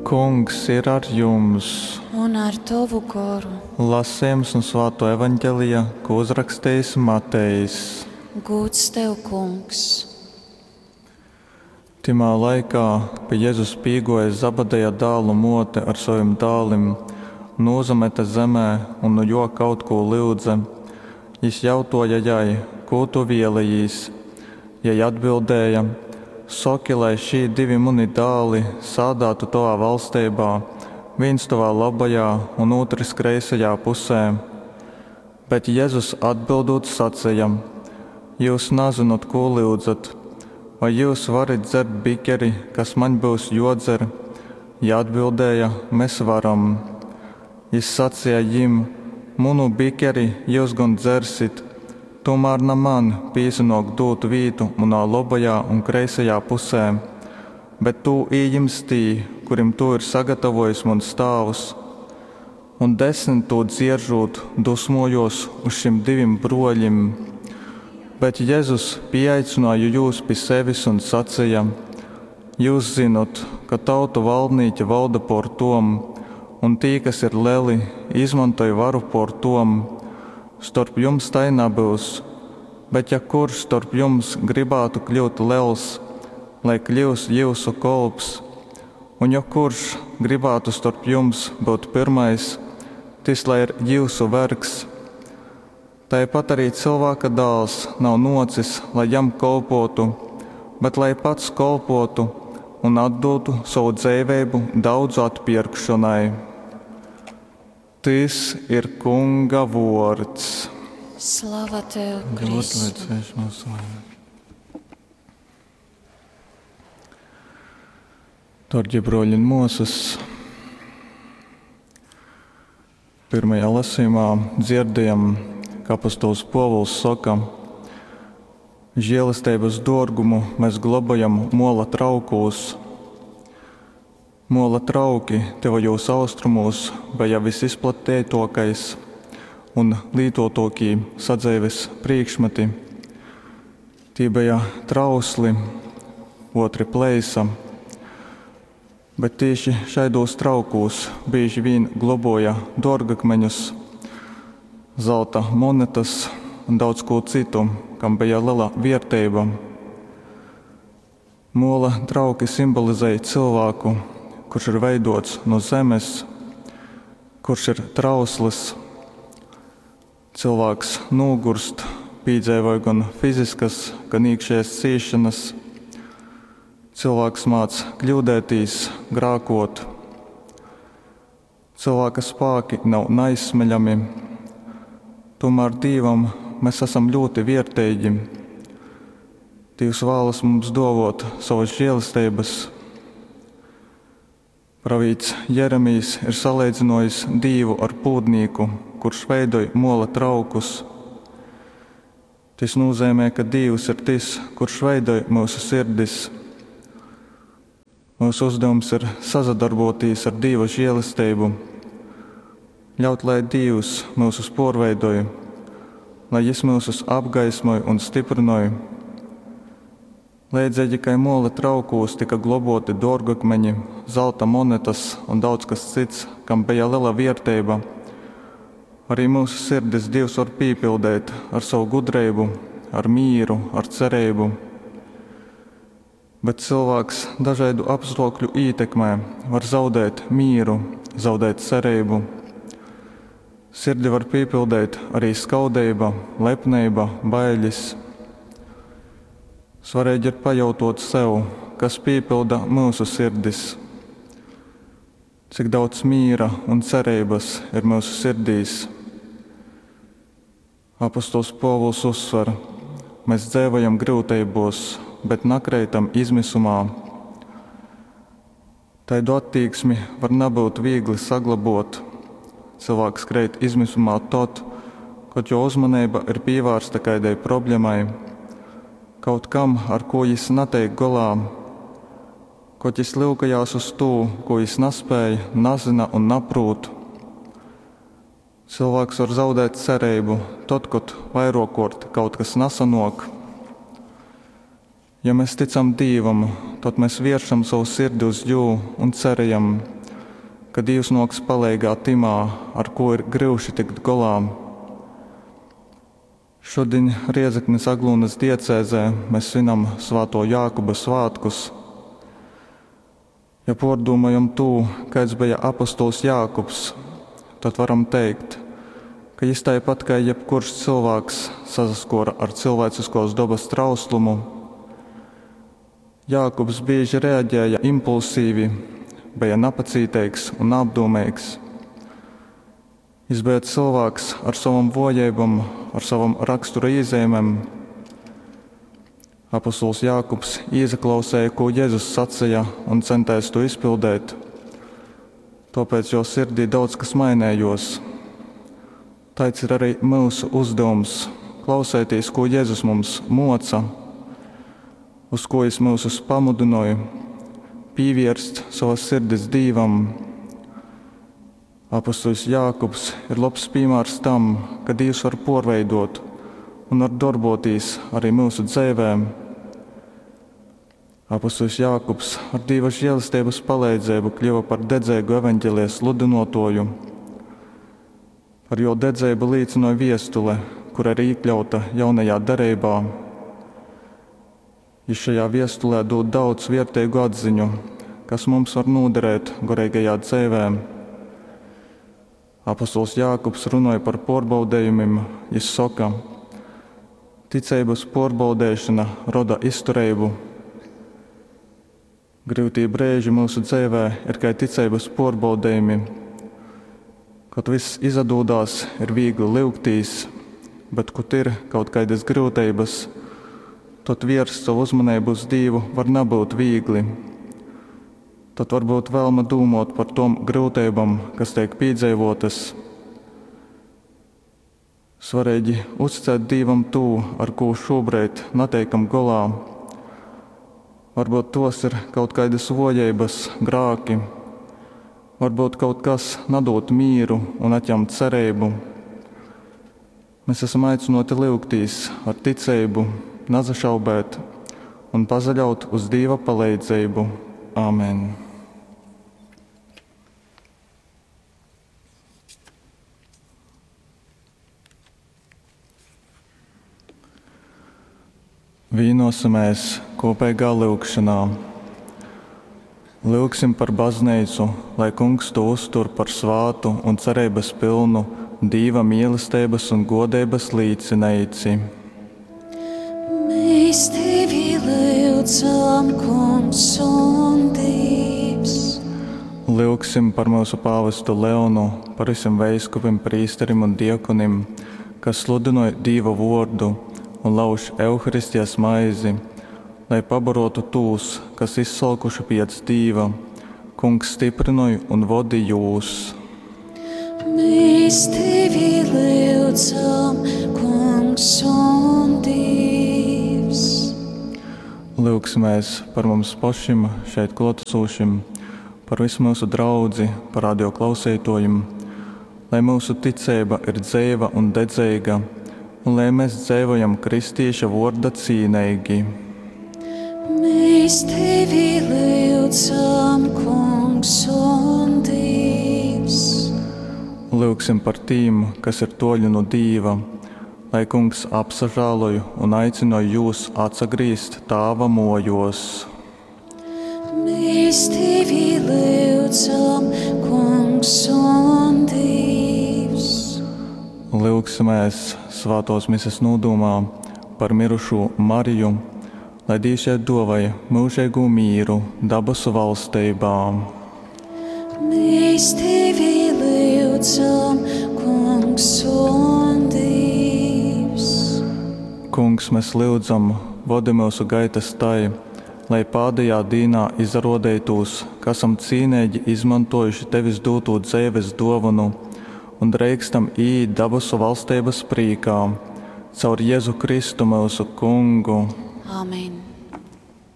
Kungs ir ar jums! Un ar tovu goru. Lasījums no Svāto evaņģelija, ko uzrakstījis Matejs. Gūds tev, Kungs! Timā laikā pie Jezus pīgoja Zabadeja dālu muote ar sovim dālim, nūzamete zemē un nu juo kaut kū lyudze. Jis jautuoja jai: Kū tu vielejīs? Jei atbildēja: Soki, lai šī divi muni dāli sādātu tovā valsteibā, vīns tovā labajā un ūtrs kreisajā pusē. Bet Jezus atbildūt saceja: Jyus nazynot, kū lyudzat. Vai jyus varit dzert bikeri, kas maņ byus juodzer? Jī atbildēja: Mes varam. Jis saceja jim: Munu bikeri jyus gon dzersit, tūmār na man pīsanōk dūt vītu munā lobajā un kreisajā pusē, bet tū ījims tī, kurim tū ir sagatavojis muns tāvs. Un desmit tū dzieržūt, dusmojos uz šim divim bruoļim. Bet Jezus pīaicināja jūs pi sevis un saceja: Jyus zinot, ka tautu valdnīki valda por tom, un tī, kas ir leli, izmantoj varu por tom. Storp jums tai nabyus, bet ja kurš storp jums gribātu kļūt lels, lai kļyus jyusu kolps, un ja kurš gribātu storp jums būt pyrmais, tys lai ir jyusu vergs. Taipat arī cilvēka dāls nav nocis, lai jam kolpotu, bet lai pats kolpotu un atdotu savu dzeiveibu daudzu atpirkšanai. Tys ir Kunga vuords. Slava tev, Kristu! Darbie broļi un muosas, pirmajā lasījumā dzirdējam, ka apostols Povuls soka: Žēlestības dārgumu mēs glabājam mola traukūs. Mola trauki tuvajos austrumos bija visizplatītākais un lietotākie sadzīves priekšmeti. Tie bija trausli, otri pleisa, bet tieši šaidos traukos bieži vien globoja dārgakmeņus, zelta monetas un daudz ko citu, kam bija liela vērtība. Mola trauki simbolizēja cilvēku, kurš ir veidots no zemes, kurš ir trausls. Cilvēks nogurst, piedzīvoja gan fiziskas, gan iekšējas ciešanas. Cilvēks māc kļūdētīs, grākot. Cilvēka spēki nav neizsmeļami, tomēr Dievam mēs esam ļoti vērtīgi. Dievs vēlas mums dovot savas žēlastības. Pravīts Jeremijs ir salīdzinājis Dievu ar pūdnieku, kurš veidoj mola traukus. Tas nozīmē, ka Dievs ir tas, kurš veidoj mūsu sirdis. Mūsu uzdevums ir sazadarboties ar Dieva žēlastību, ļaut, lai Dievs mūsus porveidoj, lai Jis mūsus apgaismoj un stiprinoj. Līdzīgi kā mola traukūs tika globoti dārgakmeņi, zelta monetas un daudz kas cits, kam bija liela vērtība, arī mūsu sirdis Dievs var pīpildīt ar savu gudrību, ar mīru, ar cerību. Bet cilvēks dažādu apstākļu ietekmē var zaudēt mīru, zaudēt cerību. Sirdi var piepildīt arī skaudība, lepnība, bailes. Svarīgi ir pajautot sev, kas piepilda mūsu sirdis. Cik daudz mīra un cerības ir mūsu sirdīs. Apostols Povuls uzsver, mēs dzīvojam grūtībos, bet nakreitam izmisumā. Taidu attieksmi var nebūt viegli saglabot. Cilvēks kreit izmisumā tad, kad jo uzmanība ir pievērsta kādai problēmai, kaut kam, ar ko jis netiek golā, kad jis lūkojās uz to, ko jis nespēja, nazina un naprūt. Cilvēks var zaudēt cerību tad, kad vairākort kaut kas nesanok. Ja mēs ticam Dievam, tad mēs vēršam savu sirdi uz Jū un cerējam. ka Dīvs nōks paleigā tymā, ar kū ir gryuši tikt golā. Šudiņ Riezeknis-Aglūnys diecēzē mes svinam Svātuo Jākuba svātkus. Ja puordūmojam tū, kaids beja apostols Jākubs, tod varam teikt, ka jis taipat kai jebkurš cylvāks sasaskuora ar cilvēciskuos dobys trauslumu. Jākubs bīži reaģēja impulsīvi, beja napacīteigs un naapdūmeigs. Jis beja cylvāks ar sovom vuojeibom, ar sovom rakstura īzeimem. Apostols Jākubs īsaklausēja, kū Jezus saceja, un centēs to izpildēt. Tuopēc juo sirdī daudz kas mainējuos. Taids ir arī myusu uzdevums – klauseitīs, kū Jezus mums moca, uz ko jis myusus pamudynoj, pīvierst sovas sirdis Dīvam. Apostoļs Jākubs ir lobs pīmārs tam, ka Dīvs var puorveidot un var dorbotīs arī myusu dzeivē. Apostoļs Jākubs ar Dīva žēlesteibys paleidzeibu kļuva par dedzeigu evaņģelija sludynuotuoju. Par juo dedzeibu līcynoj viestule, kura ir īkļauta jaunajā dereibā. Jis šajā viestulē dūd daudz vierteigu atziņu, kas mums var nūderēt goreigajā dzeivē. Apostols Jākubs runoj par puorbaudejumim. Jis soka, ticeibys puorbaudeišona roda iztureibu. Gryutī breiži myusu dzeivē ir kai ticeibys puorbaudejumi. Kod vyss izadūdās, ir vīgli lyugtīs, bet, kod ir kaut kaidys gryuteibys, tod vierst sovu uzmaneibu uz Dīvu var nabyut vīgli. Tod var būt vēlme dūmuot par tom gryuteibom, kas teik pīdzeivuotys. Svareigi uzticēt Dīvam tū, ar kū šūbreid nateikam golā. Varbyut tuos ir kaut kaidys vuojeibys, grāki, varbyut kaut kas nadūd mīru un atjam cereibu. Mēs esam aicynuoti lyugtīs ar ticeibu, nasašaubēt un pasaļaut uz Dīva paleidzeibu. Āmen! Vīnosimies kopīgā lyugšanā. Lyugsim par baznīcu, lai Kungs to uztur par svātu un cereibas pilnu Dīva mīlesteibas un godeibas līcineici. Mēs tevi lyudzam, Kungs un Dievs. Lyugsim par mūsu pāvestu Leonu, par visiem veiskupim, prīsterim un diekonim, kas sludinoj Dīva vordu un lauž Euharistijas maizi, lai pabarotu tūs, kas izsalkuši piec Dīva. Kungs stiprynoj un vodi jūs. Mēs tevi lyudzam, Kungs un Dievs. Lyugsimies par mums pašim šeit klātesošim, par visu mūsu draudzi, par radio klausītājiem, lai mūsu ticība ir dzeiva un dedzeiga, un lai mēs dzīvojam kristīša vorda cīneigi. Mēs tevi lyudzam, Kungs un Dievs. Lyugsim par tīm, kas ir toļi no Dīva, lai Kungs apsažāloj un aicinoj jūs atsagrīzt Tāva mojos. Mēs tevi lyudzam, Kungs un Dievs. Lyugsimies svētos mises nūdomā par mirušū Mariju, lai Dīvs jai dovai mūžīgu mīru dabasu valstībā. Mēs tevi lyudzam, Kungs un Dievs. Kungs, mēs lyudzam, vodi mūsu gaitas tai, lai pādējā dīnā izarodētūs, ka esam cīneigi izmantojuši tevis dūtū dzeives dovanu un dreikstam iīt dabasu valstības prīkā, caur Jēzu Kristu mūsu kungu. Amen.